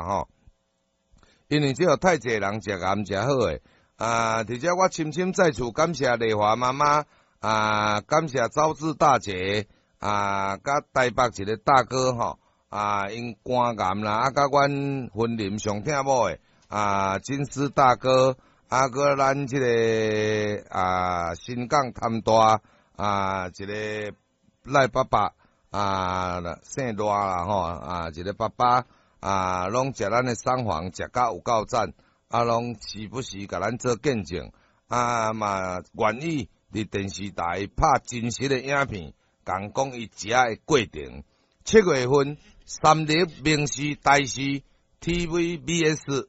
吼。因為這有太濟人食鹹食好的，啊，佇遮我深深再次感謝麗華媽媽，啊，感謝招智大姐，啊，佮台北一個大哥吼，啊，𪜶肝癌啦，啊，佮阮雲林上疼某的，啊，金絲大哥，啊，閣咱這个啊，新港潭大，啊，一个賴爸爸，啊，姓賴啦吼，啊，一个爸爸。啊，攏食咱的桑黃，食甲有夠讚，啊，攏時不時共咱做見證，啊嘛願意佇電視台拍真實的影片，共講伊食的過程。7月份，三立、民視、台視、TVBS，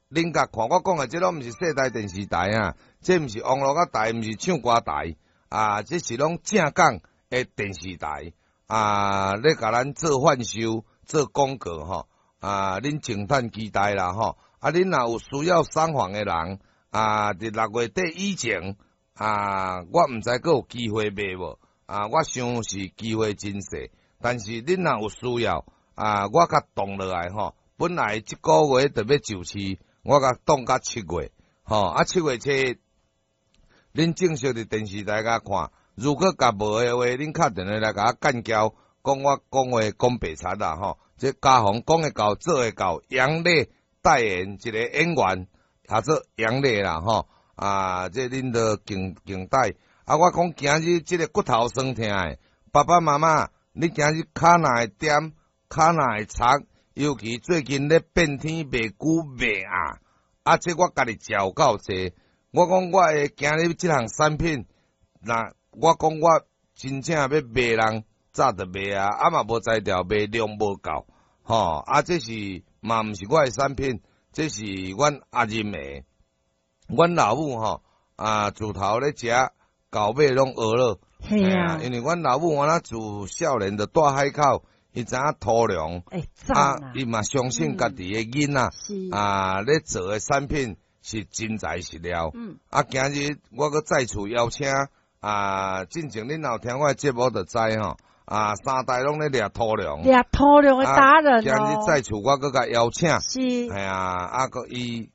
恁共看我講的，這攏毋是世台電視台啊，這毋是網絡仔台，毋是唱歌台，啊，這是攏正港的電視台，啊，咧共咱做販售、做廣告吼。啊，恁靜等期待啦吼！啊，恁若有需要桑黃的人，啊，佇6月底以前，啊，我毋知閣有機會賣無？啊，我想是機會真細，但是恁若有需要，啊，我共凍落來吼。本來這個月就欲上市，我共凍到七月，吼啊，7月7日，恁正式佇電視台共看，如果共無的話，恁敲電話來共我幹譙，講我講話講白賊啦吼。這家宏講會到，做會到，楊麗代言一個演員，叫做楊麗啦吼。啊，這恁都敬敬待。啊，我講今日這个骨頭酸疼的，爸爸媽媽，你今日跤若會踮，跤若會擦，尤其最近咧變天袂久袂暗，啊，這我家己食有夠濟。我講我的今日這項產品，若我講我真正欲賣人。早就賣啊，啊嘛無才調，賣量無夠，吼啊！這是嘛毋是我的產品，這是阮阿任的，阮老母吼啊，自頭咧食到尾攏學了，嘿啊，因為阮老母我那自少年就蹛海口，伊知影土量，啊，伊嘛相信家己的囡仔，啊，咧做的產品是真材實料，啊，今日我閣再次邀請，啊，進前恁若有聽我的節目就知吼。啊，三代攏咧掠土量，掠土量的達人哦。今日再次我閣共邀請，是，係啊，啊，閣伊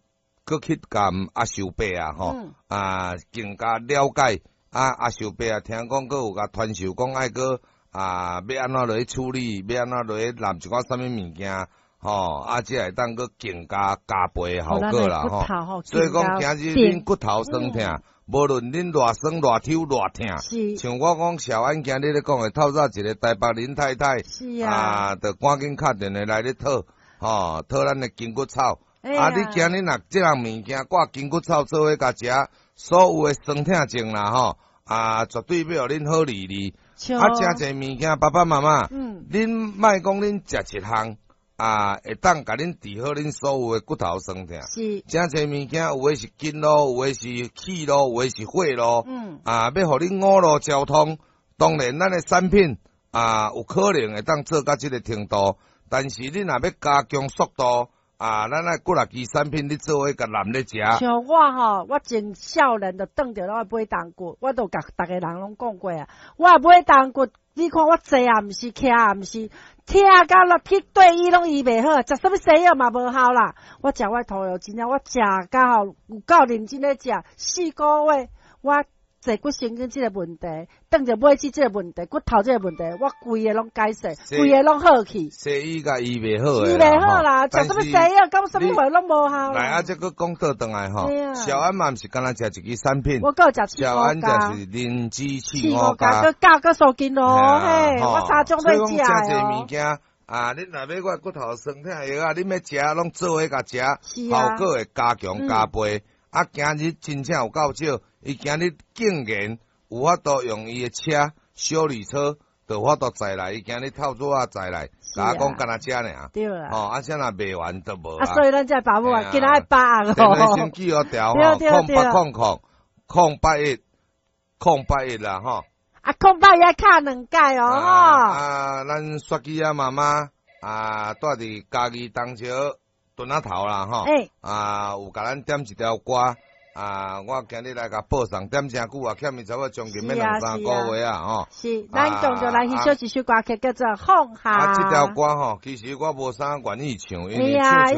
閣去共阿秀伯啊，吼，啊，更加了解啊，阿秀伯啊，聽講閣有共傳授，講愛閣啊，欲按怎落去處理，欲按怎落去攬一寡啥物物件，吼，啊，才會當閣更加加倍的效果啦，吼。所以講，今日恁骨頭酸疼。無論恁偌酸、偌抽、偌疼，像我講小安今日咧講的，透早一个台北林太太，啊，就趕緊敲電話來咧討，吼，討咱的筋骨草。啊，你今日若這項物件掛筋骨草做伙共食，所有的酸疼症啦，吼，啊，絕對欲予恁好利利。啊，誠濟物件，爸爸媽媽，恁莫講恁食一項。啊，會當共恁治好恁所有的骨頭酸疼。誠濟物件，有的是筋路，有的是氣路，有的是血路。啊，欲予恁五路交通，當然咱的產品啊，有可能會當做到這个程度。但是恁若欲加強速度，啊，咱愛幾若支產品，你做伙共攬咧食。像我吼，我真少年就轉著攏愛買重骨，我都共逐个人攏講過啊。我買重骨，你看我坐也毋是，徛也毋是，疼甲落去對醫攏醫袂好，食啥物西藥嘛無效啦。我食我土藥，真正我食甲吼有夠認真咧食，4個月我坐骨神經這个問題，轉著尾椎這个問題，骨頭這个問題，我規个攏解釋，規个攏好去。西醫共醫袂好，醫袂好啦，食啥物西藥，講啥物話攏無效。來啊，這閣講倒轉來吼，小安嘛毋是干焦食一支產品，我閣有食小安食是靈芝刺五加，閣加閣蘇筋咯，嘿，我三種欲食哦。所以講，誠濟物件啊，恁若欲我骨頭酸疼藥啊，恁欲食攏做伙共食，效果會加強加倍。啊，今日真正有夠少，伊今日竟然有法度用伊的車修理車，就有法度載來。伊今日透早仔載來，共我講干焦這爾。對啦。吼，啊，啥若賣完就無啊。所以咱這爸母啊，今仔愛把握電話先記予條吼，0800 00 081啦吼。啊，081愛敲兩擺哦，吼。啊，咱雪姬仔媽媽啊，蹛佇嘉義東石墩仔頭啦，吼。啊，有共咱點一條歌。啊！我今日來共報送，點誠久啊，欠伊差不多將近欲兩三個月啊，吼。是，咱共著來欣賞一首歌曲，叫做《放下》。啊，這條歌吼，其實我無啥願意唱，因為唱唱。